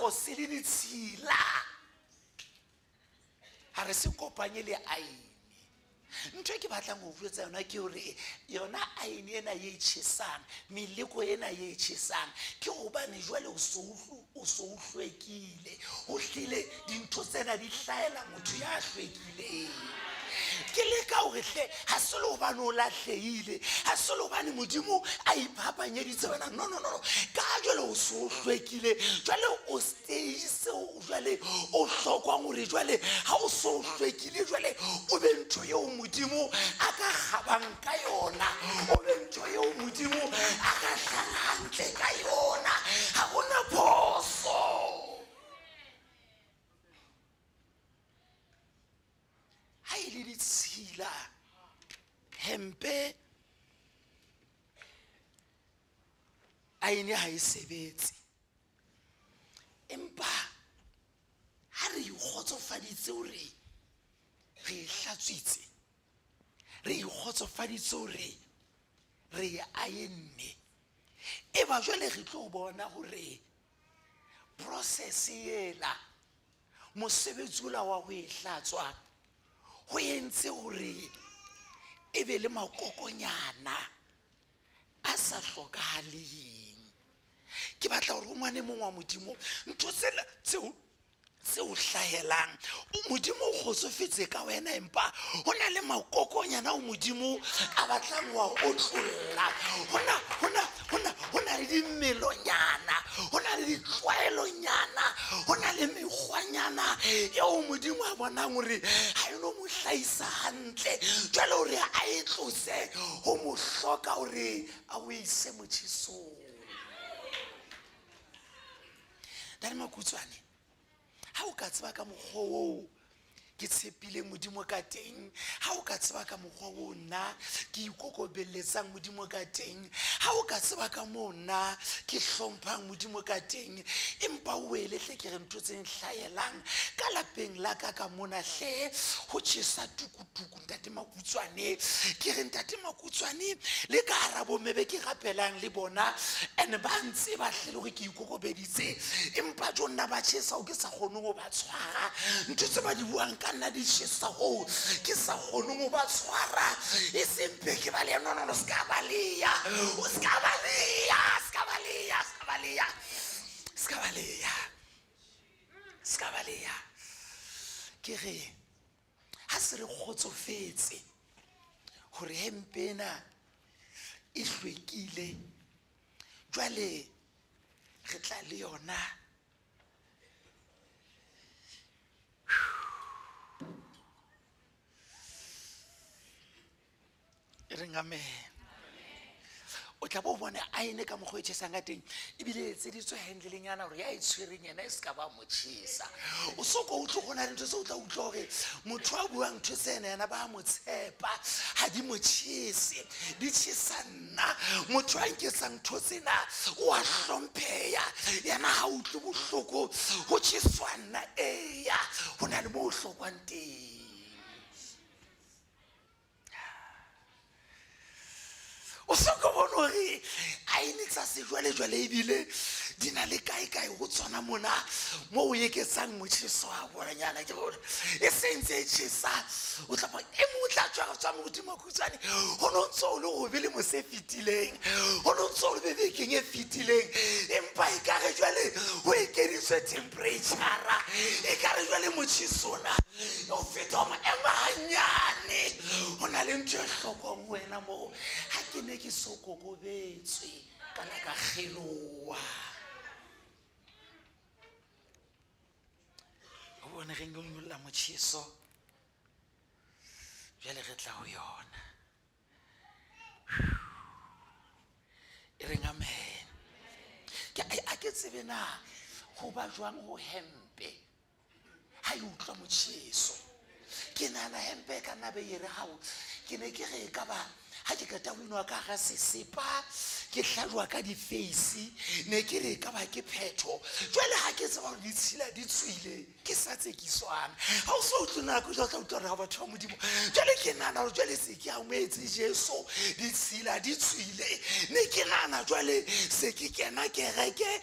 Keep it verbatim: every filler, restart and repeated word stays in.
Seaparo se le ditshila ha re se kopanye le aene. Ntho e ke batlang ho jwetsa yona ke hore yona aene ena ye tjhesang, meleko ena ye tjhesang, ke hobane jwale o so o so o hlwekile. Ho hlile dintho tsena di hlahela motho ya hlwekileng. Ke leka hore hle ha se le hobane o lahlehile, ha se le hobane Modimo a iphapanyeditse wena. No, no, no, no. Ka jwale o so o hlwekile, jwale o stage seo jwale o hlokwang hore jwale ha o so o hlwekile, jwale o be ntho eo Modimo a ka kgabang ka yona, o be ntho eo Modimo a ka hlala hantle ka yona. Ha hona phoso. Ha e le ditshila, hempe aene ha e sebetse. Empa ha re ikgotsofaditse hore re e hlatswitse, re ikgotsofaditse hore re e aenne, e ba jwale re tlo bona hore process ela, mosebetsi ola wa ho e hlatswa ho entse hore e be le makokonyana a sa hlokahaleng. Ke batla hore o ngwane mong wa Modimo, ntho tsena tseo tse o hlahelang, Modimo o kgotsofetse ka wena, empa ho na le makokonyana ao Modimo a batlang wa otlolla. Hona, hona, hona, ho na le dimelonyana, ho na le ditlwaelonyana, ho na le mekgwanyana eo Modimo a bonang hore ha e no mo hlahisa hantle. Jwale hore a e tlose ho mo hloka hore a o ise motjhesong. Ntate Makutswane, ha o ka tseba ka mokgwa oo ke tshepile Modimo ka teng, ha o ka tseba ka mokgwa oo nna ke ikokobelletsang Modimo ka teng, ha o ka tseba ka moo nna ke hlomphang Modimo ka teng, empa o wele hle ke re ntho tse nhlahelang ka lapeng la ka ka mona hle ho tjhesa tukutuku. Ntate Makutswane, ke re Ntate Makutswane, le ka hara bomme be ke rapelang le bona, and ba ntse ba hle le hore ke ikokobeditse, empa jo nna ba tjhesa ho ke sa kgone ho ba tshwara. Ntho tse ba di buang ka nna di tjhesa hoo ke sa kgoneng ho ba tshwara. E seng ke ba le, no, no, no, se ka baleya, o se ka baleya, se ka baleya, se ka baleya, se ka baleya, se ka baleya. Ke re ha se re kgotsofetse hore hempe ena e hlwekile, jwale re tla le yona. E reng amen. O tla bo bona aene ka mokgwa e tjhesang ka teng, ebile e etseditswe handlenyana hore ya e tshwereng yena e se ka ba mo tjhesa. O so ko utlwe go na le ntho tse o tla utlwa hore motho a buang ntho tsena yena ba mo tshepa, ha di mo tjhese, di tjhesa nna. Motho a nketsang ntho tsena o a hlompheha, yena ha utlwe bohloko ho tjheswa nna. Eya, ho na le moo o hlokwang teng. O so ko bone hore aene tsa sejwalejwale ebile di na le kae-kae ho tsona mona moo o eketsang motjheso wa bonanyana, ke hore e se ntse e tjhesa. O tla bona e mong o tla tswa tswa Modimo Makutswane, ho no ntso o le hobe le mose e fetileng, ho no ntso o le bebekeng e fetileng, empa ekare jwale ho ekeditswe temperature, ekare jwale motjheso ona o feta o maemo hanyane. Ho na le ntho e hlokwang ho wena moo. Ha ke ne ke so kokobetswe ka na ka kgeloha. O bone re nyolla motjheso, jwale re tla ho yona. E reng amen. Ke a ke tsebe na ho ba jwang ho hempe ha e utlwa motjheso. Ke nahana hempe e ka nna be e re hao, ke ne ke re e ka ba ha ke qeta ho inwa ka hara sesepa ke hlajwa ka di-face, ne ke re e ka ba ke phetho. Jwale ha ke tseba hore ditshila di tswile, ke sa tsekiswang. Ha o so utlwe nako jwale o tla utlwa hore ha batho ba Modimo, jwale ke nahana hore jwale se ke amohetse Jesu, ditshila di tswile. Ne ke nahana jwale se ke kena kereke,